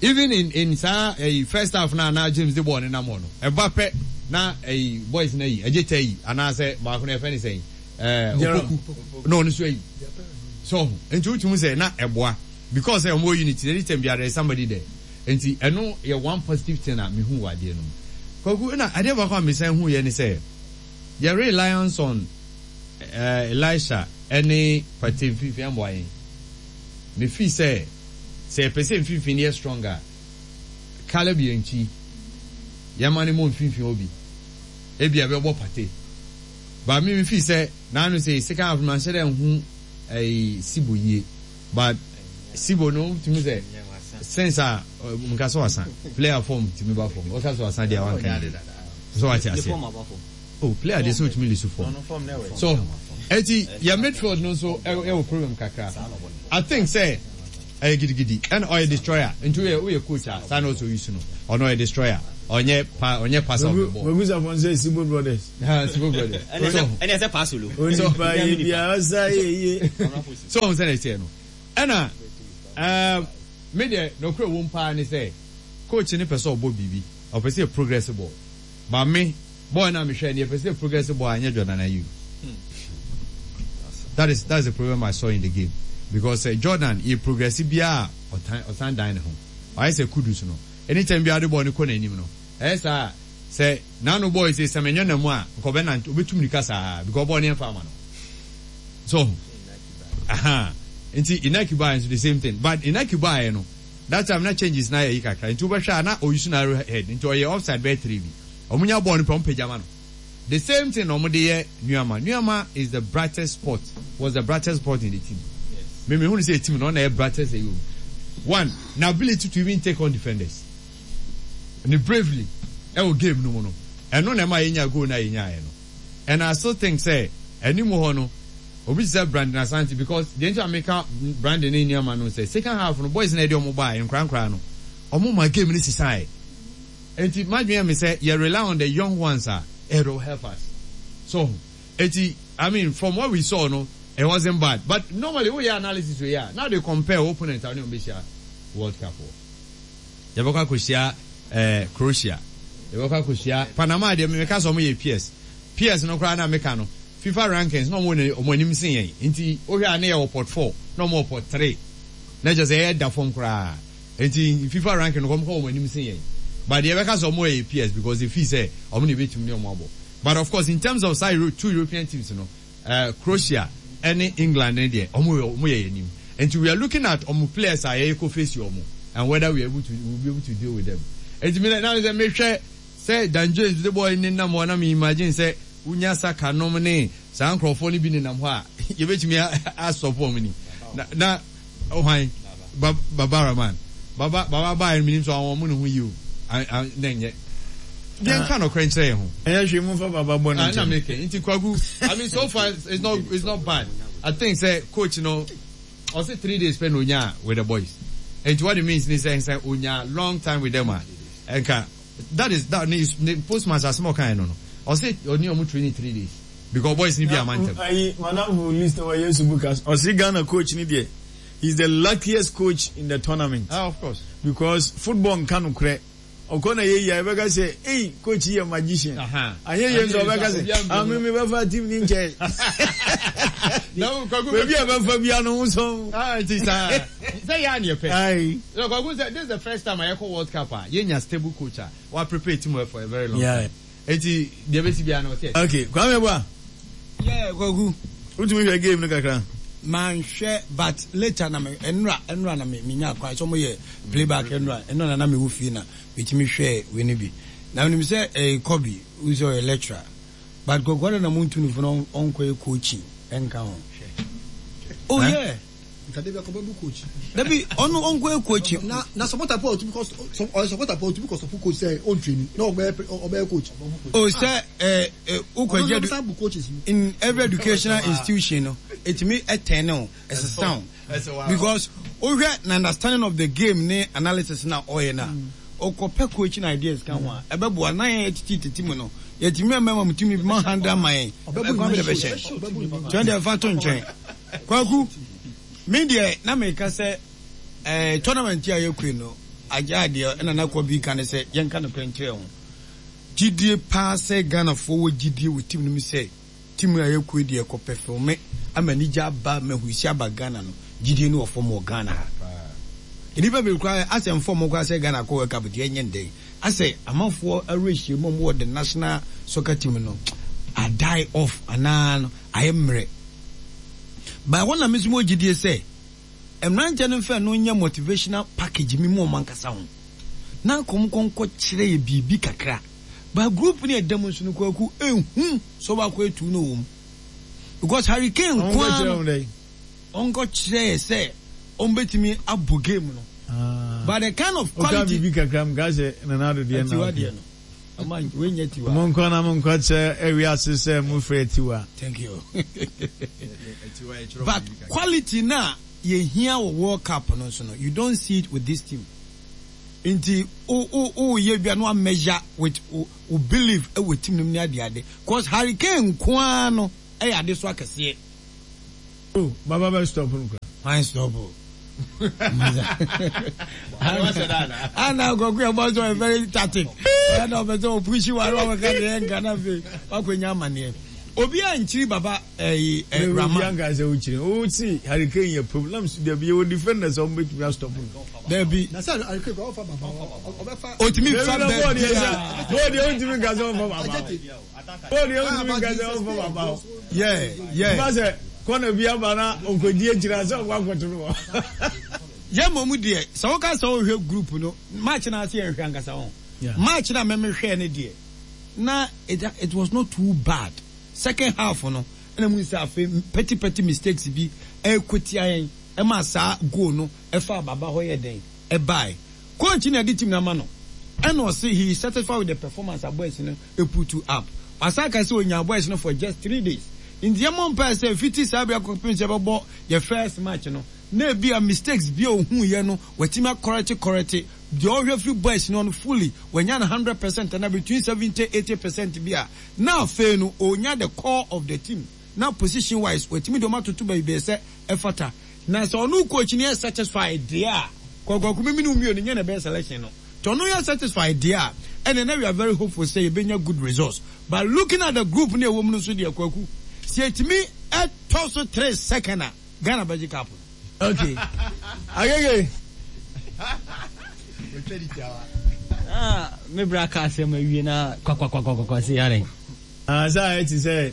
even in in saa ɛyi first half na na James de ball ne nam hɔ no ɛba pɛ na ɛyi boys na yi ɛgye tɛ yi anaasɛ baako na yɛfɛ ne sɛn ɛɛ Opoku na ɔno nso ayi so nti wotumi sɛ na ɛboa because ɛ ɔmo unity anytime bi there is somebody there nti ɛno yɛ one positive thing a mehu wɔ adeɛ no mu Kwaku ɛna adeɛ baako a mesan hu yɛ ne sɛ yɛ reliance on ɛɛ Elisha ɛne Partey mfimfini ɛmboa yɛn mefi sɛ sɛ yɛpɛ sɛ mfimfini yɛ strong a Caleb yɛ nkyi yɛma ne mɔ mfimfini hɔ bi ebi a ɛbɛbɔ Partey but me mefi sɛ n'ano sɛ second half no manhyɛ dɛ nhu ɛyi Sibo yie but Sibo no tumi sɛ since a nka sɛ wasa player form tumi ba fam ɔka sɛ wasa deɛ wanka yie so wate aseɛ oh player deɛ sɛ otumi lose form so eti yɛ midfield no nso ɛwɔ problem kakra I think sɛ ɛyɛ gidigidi ɛna ɔyɛ destroyer nti woyɛ woyɛ coach a saa na ɔsɛ oyi so no ɔno ɔyɛ destroyer Ɔnyɛ pa ɔnyɛ passer of the ball. Kwaku Sarpong sɛ Sibo Brothers. Ha Sibo Brothers. Ɛna ɛna ɛsɛ pass olo. Onipa yɛ bia ɔsa yɛ yie. So ɔhun sɛ na ɛteɛ no ɛna ɛɛm me deɛ nɔkorɛ wom paa ne sɛ coach no pɛ sɛ ɔbɔ biribi ɔpɛ sɛ yɛ progress ball but me ball no a mehwɛɛ no yɛpɛ sɛ yɛ progress ball a ɛnyɛ Jordan Ayew that is that is the problem I saw in the game because sɛ Jordan yɛ progress biara a ɔtan ɔsan dan ne ho ɔayɛ sɛ Kudus no Anytime biara ɔde bɔɔl no kɔ n'anim no, ɛyɛ saa a, sɛ n'ano bɔɔl yi sɛ Semenyo nam mu a, nka ɔbɛnante, ɔbɛtu mmirika saa because bɔɔl no yɛmfa ama no. So, aha, nti Inaki baeɛ nso the same thing. But Inaki baeɛ no, that time na changes no ayɛ yi kakra, nti wobɛhwɛ a na ɔuse narrow head, nti ɔyɛ offside bɛyɛ three bi. Wɔn nya bɔɔl no pɛ, wɔn pagya ma no. The same thing na wɔn de yɛ Nuamah. Nuamah is the brightest spot, was the brightest spot in the team. Me me hu no sɛ team no ɔna yɛ brightest ɛyɛ wɔ mu. One, na ability to even take on defenders. Ne bravely ɛwɔ game no mu no, ɛno na ɛma yɛnya goal no a yɛnyaeɛ no. And I still think sɛ anim hɔ no, obi te sɛ Brandon Asante because deɛ nti a meka Brandon ne Nuamah no sɛ second half no boys no a yɛde wɔn baeɛ nkoraa nkoraa no, wɔn ma game no sesaeɛ. Enti m'adwene yɛ me sɛ yɛ rely on the young ones a it will help us. So ho? Enti I mean from what we saw no it wasn't bad but normally wo yɛ analysis wei a na wode compare wo opponent a wo ne wɔn bɛhyia world cup wɔ. Yɛbɛkɔ akɔhyia eh, Croatia, yɛbɛkɔ akɔhyia Panama deɛ meka sɛ wɔn yɛ peers. Peers no koraa na meka no FIFA rankings na wɔn wɔ wɔn anim sen yɛn nti wohwɛ a na yɛwɔ pot four na wɔn wɔ pot three na kyerɛ sɛ yɛda fam koraa. Nti FIFA ranking no wɔn kɔ wɔn anim sen yɛn but deɛ yɛbɛka sɛ wɔn yɛ peers because they feel sɛ wɔn na ebetumi ne wɔn abɔ but of course in terms of saa Euro two European teams no eh, Croatia ɛne England ne deɛ wɔn yɛ wɔn yɛ yɛn anim nti we are looking at wɔn players a yɛyɛ kɔ face wɔn and whether we are able to we will be able to deal with them nti mi na na sɛ mehwɛ sɛ Dan James de bɔɔl nenam hɔ na mi imagine sɛ wonya Saka nom ne saa nkorɔfoɔ no bi nenam hɔ a yɛbɛtumi asɔpo wɔn ni na na Hwan? Ba Baba Rahman. Baba Baba baeɛ no menim sɛ wɔn ne ho yie o. Na ɛnyɛ. Yɛn ka nɔkorɛ nkyerɛ yɛn ho. Ɛnyɛ hwee mo nfa Baba bɔ ne nkyɛn. Na meke nti Kwaku I mean so far it's not it's not bad. I think sɛ coach no ɔse three days pɛ na onyaa with the boys. Nti what it means ni sɛ sɛ onyaa long time with them a nka that is that ne ne post match asɛm a ɔkaeɛ no no ɔse ɔne ɔmo training three days. Because boys ni bi ama ntɛm. Ayi madamfo list wɔ Yesu Bukas ɔsi Ghana coach ni deɛ he is the luckiest coach in the tournament. Ah of course. Because football nka nokorɛ ɔkɔ na yɛ yie a yɛbɛka sɛ ei coach yi yɛ magician anyɛ yie nso ɔbɛka sɛ ah me me bɛfa team ni nkyɛn baabi a bɛfa bia no ho sɔn. Ah nti saa sɛ yɛ a ne yɛpɛ. Ayi. Kwaku sɛ this is the first time a yɛkɔ World Cup a yɛnya stable coach a wa prepare team well for a very long time. Eti deɛ bɛsi biara no ɔte akyire. Okay, Kwame Boa. Yeah, Kwaku. Wotumi hwɛ game no kakra? Manhwɛ but later na me ɛnora ɛnora na me menya kwan sɛ wɔyɛ playback ɛnora ɛnora na na mewɔ fie na metumi hwɛɛ wei no bi. Na menim sɛ ɛyɛ Kobe, wohu sɛ ɔyɛ lecturer. But Kwaku adɛn na montu no fo na ɔnkɔyɛ coaching ɛnka ho? Oh yeah. Nka dabi akɔ bɛbu coach. Dabi ɔno ɔnkɔ yɛ coach. Na na supporter po ɔtumi kɔ ɔyɛ supporter po ɔtumi kɔ sɔpo coach sɛ ɔntreni na ɔbɛyɛ ɔbɛyɛ coach. O sɛ ɛ ɛ wokɔ gye in every educational institution no etumi ɛtɛn ne o ɛsesa o because wohwɛ na understanding of the game ne analysis na ɔyɛ na ɔkɔ pɛ coaching ideas ka ho a ɛbɛboa na yɛn titi titi mu no yɛtumi ɛmɛ ma tumi ma handle ama yɛn ɛkwan bi de bɛhyɛ kyɛn deɛ ɛfa to nkyɛn. Kwaku, me deɛ na meka sɛ eh, tournament yi a yɛkɔi no, agyaa deɛ ɛna na Kɔbi ka ne sɛ yɛnka nokorɛ nkyerɛ ho. Gyidie paa sɛ Ghanafoɔ wɔ gyidie wɔ team no mu sɛ team a yɛkɔi deɛ kɔ pɛfɔme ama anigye aba ma ahurusi aba Ghana no, gyidie no wɔ fam wɔ Ghana ha. Nnipa bebree koraa asɛ mfɔm koraa sɛ Ghana kɔ World Cup deɛ ɛnyɛ ndɛn. Asɛ amanfoɔ awerɛhyɛmu a wɔwɔ the national soccer team no a die off anaa no ayɛ mmerɛ. By hɔ na me nso mewɔ gyidie sɛ mmeranteɛ no mfa ɛno nyɛ motivational package me mu wɔn ankasa ho na anka wɔn nkɔ nkɔ kyerɛ yɛ biribi kakra. But group no a ɛda mu nso no Kwaku ehu sɛ ɔbaako etu no wɔ mu because Harry Kane nko ara no ɔnkɔ kyerɛ yɛ sɛ wɔn bɛtumi abɔ game no but the kind of quality. Ɔka biribi kakra mu ka sɛ Nana Addo deɛ na Atiwa deɛ no. Monkɔ na monkɔ kyerɛ ewiase sɛ mo firi Atiwa. Thank you. But quality na yɛhia wɔ World Cup no nso no, you don't see it with this team. Nti o o o yɛ bia no measure with o o believe ɛwɔ team no mu ne ade ade. Cause Harry Kane nkoa no ɛyɛ ade so akɛseɛ. Oh, Baba bɛ stop no kura. Why stop o? Ana akɔkɔ yɛ bɔ so very tactic. Ɛna ɔbɛ sɛ ɔpushi wa ɔbɛ ka deɛ nka na fe wakɔ nya amaneɛ. Obi a nkyiri Baba ɛyi ɛ Rama. Obi anka sɛ wokyiri. O si Harry Kane yɛ problem so dabi yɛ wɔ defenders a wɔn bɛtumi astop no. Dabi. Na sɛ Harry Kane kɔ ɔfa Baba ɔbɛfa. Otumi fa bɛɛ bia. Bɔɔl deɛ wontumi nka sɛ ɔmfa Baba. Bɔɔl deɛ wontumi nka sɛ ɔmfa Baba. Yeah yeah. Ba sɛ kɔna bi aba na ɔnkɔdi akyire sɛ ɔkɔ akɔto no hɔ. Yɛ mmom deɛ sɛ woka sɛ wohwɛ group no match no ase yɛnhwɛ ankasa ho. Match na mɛmehwɛɛ no deɛ na it, it was not too bad. Second half no ɛna mu sɛ afei petty petty mistakes bi ɛkɔtia yɛn ɛma saa goal no ɛfa Baba hɔ yɛ den ɛbae. Coach na ɛde team no ama no ɛna ɔse he is satisfied with the performance a boys no put up. Wasan ka sɛ onya boys no for just three days. Nti yɛmmɔ mpae sɛ fiti saa bere akɔpem sɛ yɛbɛbɔ yɛ first match no na ebi a mistakes bi a ohuu yɛ no watumi akɔrɛte kɔrɛte deɛ ɔhwɛ firi boys no no fully wanya no hundred percent ana between seventy eighty percent bi a na afei no onya the core of the team na position wise watumi de ɔmo atoto baabi sɛ ɛfata. Na sɛ ɔno coach no yɛ satisfied deɛ a kɔkɔkɔ mímí no mmienu nyɛ na ɛbɛyɛ selection no nti ɔno yɛ satisfied deɛ a ɛna na we are very hopeful sɛ yɛbɛnya good results, but looking at the group ne ɛwɔ mu no nso deɛ, Kwaku, sɛ yɛtumi ɛtɔ so three second a, Ghana bɛgye cup no. Okay. Agege. Ah, me bra ka asɛm awie na kwakwakwakwa se yare. Ah, sɛ ayɛ te sɛ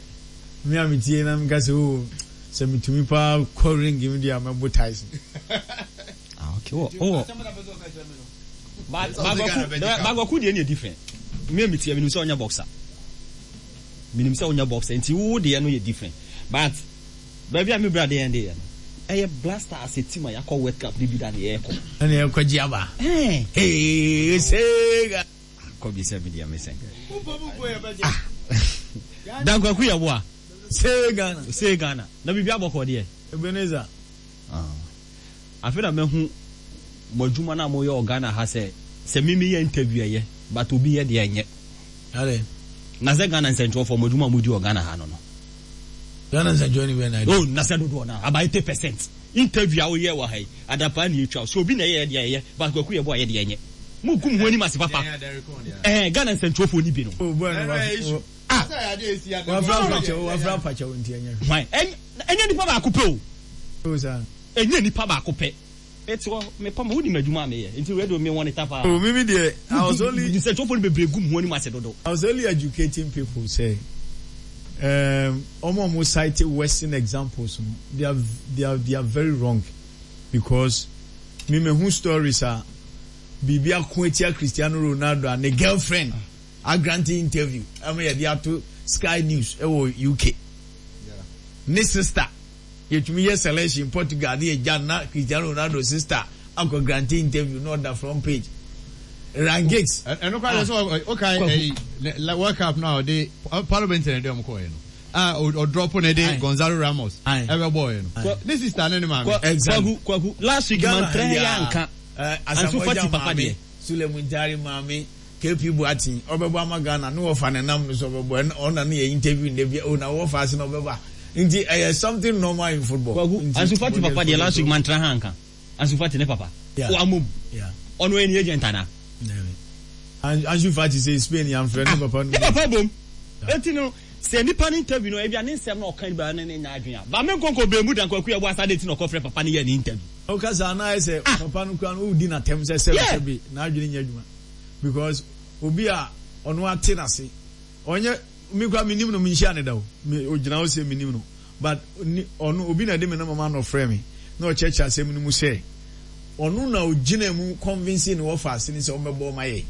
me a metie na meka sɛ o sɛ metumi paa kɔ ring mu deɛ a mɛbo Tyson. Ah, okay. Oh, oh. But Bagwaku deɛ ne yɛ different. Me a metie menim sɛ ɔnyɛ boxer. Menim sɛ ɔnyɛ boxer nti wo deɛ no yɛ different. But baabi a me bra deɛ deɛ no ɛyɛ Black Stars team a yɛakɔ World Cup ne bi da ne yɛrekɔ. Ɛne yɛkɔ gye aba. Eh. Hey, Sega. Kɔ bi sɛ me deɛ me sɛn. Ah. Dankwaku yɛ boa. Say Ghana. Say Ghana. Na biribi abɔkɔ deɛ. Ebenezer. Ah. Afei na mahu mo adwuma no a moyɛ wɔ Ghana ha sɛ sɛ me meyɛ interview ɛyɛ but obi yɛ deɛ ɛnyɛ. Ale. Na sɛ Ghana nsɛntwerɛfoɔ mo adwuma a modi wɔ Ghana ha no no. Ghana nsɛntwerɛ ni bɛn na Oh, na sɛ dodoɔ no about eighty percent interview a woyɛ wɔ ha yi adapaa ne ɛtwa so obi na ɛyɛ deɛ ɛyɛ but Kwaku yɛ bɔ a yɛ deɛ ɛnyɛ. Mo gu mo ho anim ase papa. Eh, Ghana nsɛntwerɛfoɔ ni bi no. Oh, boy no. Ah. Wafra apakyɛw, wafra apakyɛw nti ɛnyɛ. Hwan? Ɛnyɛ nipa baako pɛ o. Oh, sir. Ɛnyɛ nipa baako pɛ. Eti hɔ mepa ma wonim adwuma a meyɛ nti radio me wɔ ne ta paa. Oh, mimi deɛ, I was only. Nsɛntwerɛfoɔ no bebree gu mo ho anim ase dodo. I was only educating people say, um, ɔmo ɔmo cite Western examples no, they are they are they are very wrong because me me hu stories a biribi ako etia Cristiano Ronaldo a ne girlfriend agrante interview ɛmo yɛ de ato Sky News ɛwɔ U K. Ne sister yɛtumi yɛ selection Portugal ne yɛ na Cristiano Ronaldo sister akɔ grante interview na ɔda front page. Ryan Giggs. Ɛno kora sɛ ɔka ɛyi World Cup no a ɔde Paulo Bento na ɛde ɔmo kɔɔ yɛ no a ɔdrɔpo na ɛde Gonzalo Ramos ɛbɛ bɔɔ yɛ no, ne sister ne ne maame. Exactly. Kwaku, Kwaku, last week man trɛ yɛ anka. Ansu Fati papa deɛ. Sule Muntari maame, K P Boateng ɔbɛbɔ ama Ghana ne wɔfa ne nam no so ɔbɛbɔ ɔna ne yɛ interview ne bi o na wɔfa ase na ɔbɛba nti ɛyɛ something normal in football. Kwaku, Ansu Fati papa deɛ, last week man trɛ ha anka. Ansu Fati ne papa. Yeah. O amom. Yeah. Ɔno ɛni agent ana. Ansu Fati sɛ Spain yɛnfrɛ ne papa no. Ne papa bom. Eti no sɛ nipa ne interview no ebi a ne nsɛm na ɔka ba ne ne nya adwene a ba me nkonko bɛn mu dan Kwaku yɛ bɔ asa de ti na ɔkɔfrɛ papa ne yɛ ne interview. Ɔka saa na ayɛ sɛ papa no kura no wodi n'atɛm sɛ sɛbi sɛbi n'adwene nyɛ adwuma because obi a ɔno ate n'ase ɔnyɛ mi kura mi nim no, mi nhyia ne da o, mi ogyina hɔ sɛ mi nim no, but ni ɔno obi na ɛde mi nam ama na ɔfrɛ mi na ɔkyerɛkyerɛ asɛm no mu sɛ ɔno na ogyina mu convince ne wɔfa ase ne sɛ ɔmbɛbɔ ɔma yɛ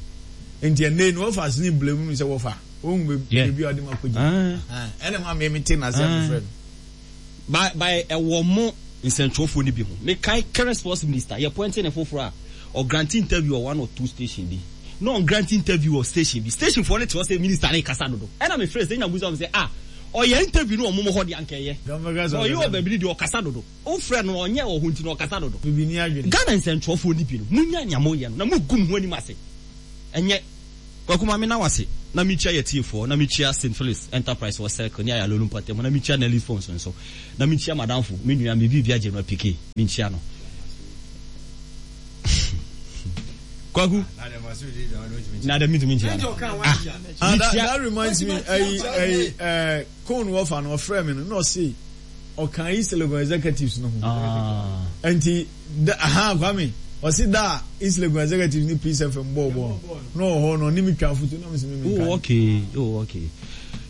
nti ɛnɛ ne wɔfa ase ne blame no sɛ wɔfa ohun beebi a ɔde ma kɔ gyina ɛna mu amee mi te n'ase a mi frɛ no. By by ɛwɔ mo nsɛntwerɛfoɔ no bi ho. Mekae current sports minister yɛ pointing ne foforɔ a ɔgrant interview wɔ one or two station bi na ɔgrant interview wɔ station bi, station foɔ no te hɔ sɛ minister ne kasa dodo ɛna mefrɛ sɛ nya busa sɛ ah Ɔyɛ interview no wɔ momo hɔ deɛ anka ɛyɛ. Ɔyɛ wɔ baabi no deɛ ɔkasa dodo. Wo frɛ no ɔnyɛ wɔ hɔ nti no ɔkasa dodo. Ghana nsɛntwerɛfoɔ no bi no monyae nea moyɛ no na mogu mo ho anim ase. Ɛnyɛ. Kwaku ma mena wo ase na mekyia yɛ tiefoɔ na mekyia Saint Phillips Enterprise wɔ Circle ne Ayalolo mpɔtam hɔ na mekyia Nelly's Phones nso na mekyia madamfo me nua me biribia General P K menkyia no. Kwaku na dɛ mentumi nkyia no. Ah, ah that, that reminds me ɛyi ɛyi ɛɛ cone wɔfa no ɔfrɛ mi no na ɔse ɔka East Legon executives no ho ah. Nti da aha Kwame ɔse da a East Legon executives ne Peace F M bɔɔ bɔɔl no na ɔwɔ hɔ no ɔne mi twa afotu na mi sɛ mi mi nka. Oh okay, oh okay.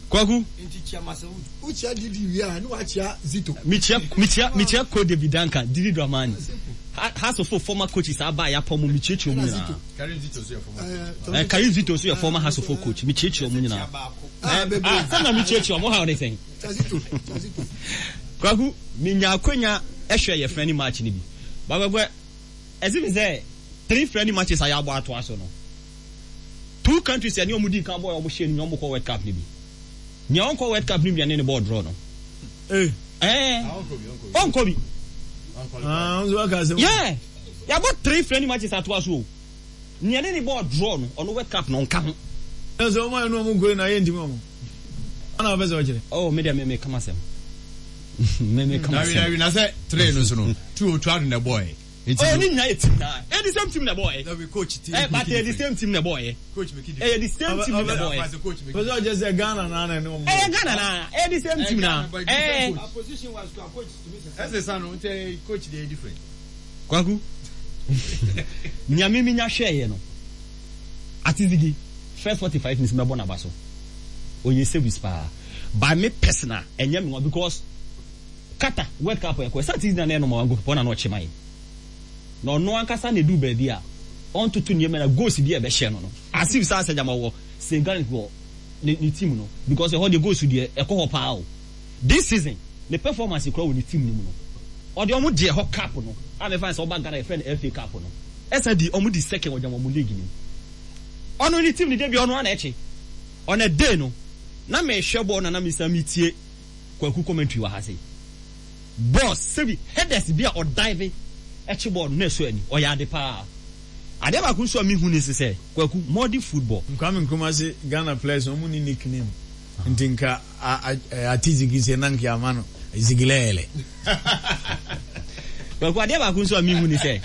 Kwaku. Nti kyia Masawood. Wokyia Didi wie a ne wakyia Zito. Mekyia mekyia mekyia Ko David Duncan, Didi Dramani. Hearts of Oak former coaches aba a yɛapam wɔn, mekyiakyia wɔn nyinaa. Karim Zito nso yɛ former. Eh, Karim Zito nso yɛ former Hearts of Oak coach, mekyiakyia wɔn nyinaa. Eh, ah, sɛ na mekyiakyia wɔn, ha ne sɛn? Kwaku, menya akwanya ɛhwɛ yɛ friendly match no bi. Bakwakwa, ɛsi mi sɛ three friendly matches a yɛabɔ atoa so no, two countries ɛne wɔn di kan bɔ a wɔn hyɛ no nyɛ wɔn kɔ World Cup no bi. Nea ɔnkɔ World Cup no bi ne ne bɔɔl draw no. Eh. Eh. Ɔnkɔ bi. Ah, nso aka asɛm. Yeah. Yɛabɔ three friendly matches atoa so o. Nea ne ne bɔɔl draw no, ɔno World Cup no ɔnka ho. Ɛsɛ ɔmo ayɛ no ɔmo nkɔ na yɛ ntumi ɔmo. Ana ɔbɛ sɛ ɔkyerɛ. Oh, me deɛ me me kama sɛm. Me me kama sɛm. Na na sɛ three no so no, two o two ado na ɛbɔɔ yɛ. Oh, ne nyinaa yɛ team na. Ɛyɛ the same team na ɛbɔɔ yɛ. Dabi coach team. Eh, but ɛyɛ the same team na ɛbɔɔ yɛ. Coach make it. Ɛyɛ the same team na ɛbɔɔ yɛ. Pɛsɛ ɔkyerɛ sɛ Ghana na na ɛne ɔmo. Ɛyɛ Ghana na. Ɛyɛ the same team na. Ɛɛ. Position wise coach tumi sɛ. Ɛsɛ sa no nti coach dey different. Kwaku, nea me menya hwɛeɛ no, Atizigi, first forty five minutes mɛbɔ n'aba so. Ɔyɛ service paa. By me personal, ɛnyɛ me nwa because Qatar World Cup ɛkɔ, ɛsɛ Atizigi na na ɛyɛ number one goalkeeper, ɔna na ɔkye man. Na ɔno ankasa na ɛduru baabi a, ɔntoto nneɛma na goals bi a ɛbɛhyɛ no no. As if saa sɛ gyama ɔwɔ Senegal wɔ ne, ne team no because ɛhɔ deɛ goals deɛ ɛkɔ hɔ paa o. This season, ne performance koraa wɔ ne team no mu no, ɔde ɔmo gye ɛhɔ cup no a mefa no sɛ ɔba Ghana yɛfrɛ no F A cup no, ɛsan di ɔmo di second wɔ gyama ɔmo league no mu. Ɔno ne team no da biara ɔno ara na ɛkye. On a day no, na mehwɛ bɔɔl na na mesan metie Kwaku commentary wɔ ha sei. Boss, sɛbi headers bi a ɔdive ɛkye bɔɔl no na ɛsɔ ani, ɔyɛ ade paa. Adeɛ baako nso a mehu ne sɛ, Kwaku, modern football. Kwame Nkrumah se Ghana players no ɔmo nni nickname nti nka Ati Zigi se na nka yɛama no Zigilɛɛlɛ. Kwaku, adeɛ baako nso a mehu ne sɛ,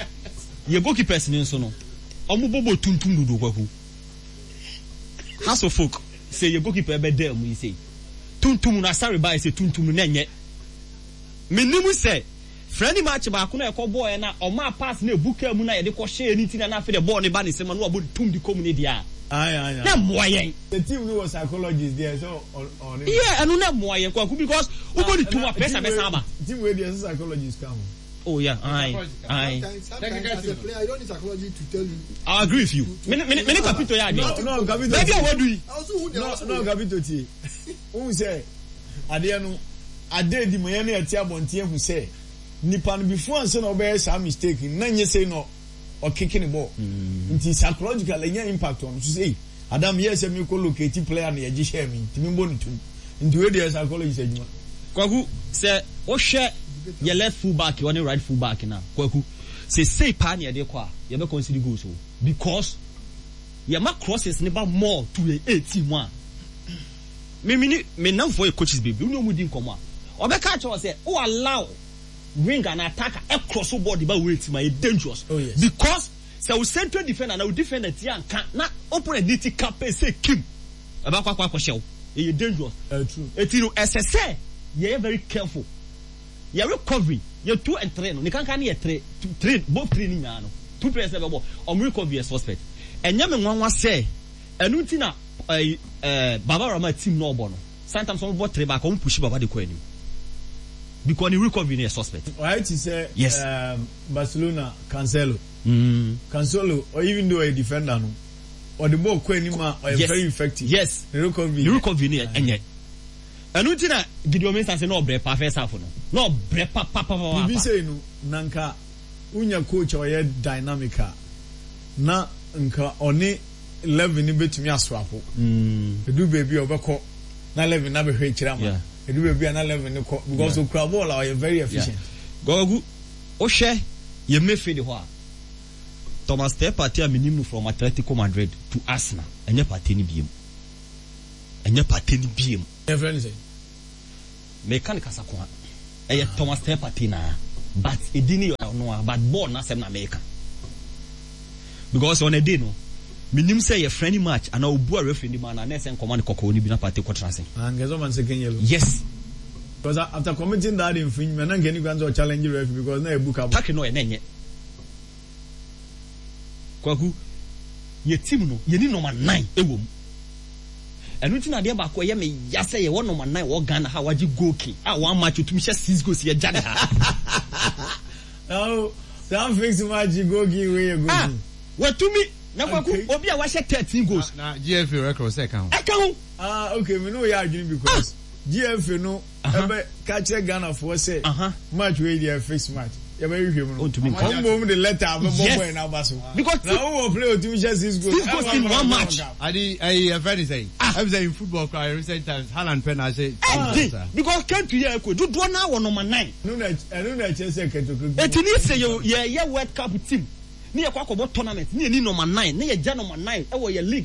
yɛ goalkeepers no nso no, ɔmo bɔ bɔɔl tuntum dodo Kwaku. House of Folk sɛ yɛ goalkeeper bɛdaa mu yi sei, tuntum no Asare baeɛ sɛ tuntum no na ɛnyɛ. Menim sɛ friendly match baako na ɛkɔ bɔɔɛ na ɔmaa pass na ebu kaa mu na yɛde kɔ hyɛɛ ne ti na na afei de bɔɔl no ba ne nsam na wabɔ ne tum de kɔ mu ne deɛ a na mmoa yɛn. The team no wɔ psychologist deɛ sɛ ɔne. Yeah, ɛno na mmoa yɛn Kwaku because wobɔ ne tum a pressure bɛsan aba. Team wei deɛ sɛ psychologist ka ho. Oh yeah, aye, aye. Sometimes as a player, you don't need psychology to tell you. I agree with you. Me me me ne Kapito yɛ adwene. No, no, Kapito. Baabi a wadu yi. No, no, Kapito tie. Wohu sɛ adeɛ no ada adi ma yɛn a yɛte abɔnten ahu sɛ nipa no before ansa na ɔbɛyɛ saa mistake no na nyɛ sei na ɔkeke ne bɔɔl nti psychological ɛnya impact on so sɛ adam yɛ sɛ mekɔ locate player na yɛgye hyɛɛ me nti membɔ ne tum nti wei deɛ psychologist adwuma. Kwaku sɛ wohwɛ yɛ left full back ɔne right full back no a Kwaku sɛ sei paa na yɛde kɔ a yɛbɛ concede goals o because yɛma crosses no ba more to yɛn eighteen mu a Me me ne me nnamfoɔ yɛ coaches bebree, wo ne wɔn di nkɔmmɔ a, wɔbɛka akyerɛ wo sɛ wo allow wing anaa attacker ɛcross wo ball de ba wo team a, ɛyɛ dangerous. Oh yes. Because sɛ wo central defender anaa wo defender ti anka na opponent ne ti ka pɛ sɛ kim, ɛbɛkɔ akɔ akɔhyɛ wo. Ɛyɛ dangerous. Ɛyɛ true. Eti no ɛsɛ sɛ yɛyɛ very careful. Yɛ recovery, yɛ two and three no, ne kankan no yɛ three, two, three, both three no nyinaa no, two players na ɛbɛbɔ, wɔn recovery yɛ suspect. Ɛnyɛ me nwanwa sɛ ɛno nti na ɛyi ɛɛ Baba Rama team na ɔbɔ no sometimes wɔn bɔ three back wɔn push Baba de kɔ anim because ne recovery no yɛ suspect. Wayɛ te sɛ Yes. um, Barcelona Cancelo. Mm. Cancelo, or even though ɔyɛ defender no, ɔde bɔɔl kɔ anim a ɔyɛ Yes. very effective. Yes. Ne recovery. Ne recovery no yɛ ɛnyɛ. Ɛno nti na Gideon Mensah sɛ na ɔbrɛ paa first half no na ɔbrɛ papapapapa. Biribi sei no, na nka wonya coach a ɔyɛ dynamic a, na nka ɔne Eleven no bɛtumi asoapo. Ɛduru baabi a ɔbɛkɔ Na eleven na bɛhwɛ akyire ama ɛdu baabi a na eleven no kɔ because okura ball a ɔyɛ very efficient. Gɔgu, wohwɛ yɛ midfield hɔ a, Thomas Teh Partey a menim no from Atletico Madrid to Arsenal, ɛnyɛ Partey no biom. Ɛnyɛ Partey no biom. Yɛfrɛ no sɛn? Meka no kasakoa. Ɛyɛ Thomas Teh Partey naa but edin no yɛ ɔno a but bɔɔl no asɛm na meka. Because on a day no, menim sɛ ɛyɛ friendly match anaa obu a referee no ma no a na ɛsɛ nkɔma no kɔkɔɔ no bi na Partey kɔtena ase. Ah, nka ɛsɛ ɔma no second yellow. Yes. Because after committing that infringement, na nka ɛni kwan sɛ ɔchallenge referee because na ɛbu ka bɔ. Tackle no ɔyɛ na ɛnyɛ. Kwaku, yɛ team no, yɛni number nine wɔ mu. Ɛno nti na adeɛ baako a ɛyɛ me ya sɛ yɛwɔ number nine wɔ Ghana ha a wagye goal king a one match otumi hyɛ six goals yɛgya ne ha. Now, saa fix match goal king wei yɛ goal Ah, king. watumi na Kwaku, obi a wahyɛ thirteen goals. Na, na G F A record sɛ ɛka ho. Ɛka ho. Ah, okay, me ne wo yɛ adwene because ah. G F A no ɛbɛ ka kyerɛ Ghanafoɔ sɛ match wei deɛ fix match yɛbɛhwehwɛ mu no Ontumi nka. Ɔmo mbom de letter abɛbɔ Yes. boy n'aba so Because na wowɔ play otumi hyɛ six goals Six goals in one match. Adi ayi ɛfɛ ni sɛyi. Ɛbi sɛ in football kora in recent times, Haaland pɛ na ahyɛ. Ɛdi because country yɛ ɛkɔ dodoɔ naa wɔ number nine. Ɛno na ɛno na ɛkyerɛ sɛ kɛtɛkɛ. Eti ni sɛ yɛ yɛyɛ World Cup team ne yɛ kɔ akɔbɔ tournament ne yɛ ni number nine ne yɛ gya number nine ɛwɔ yɛ league.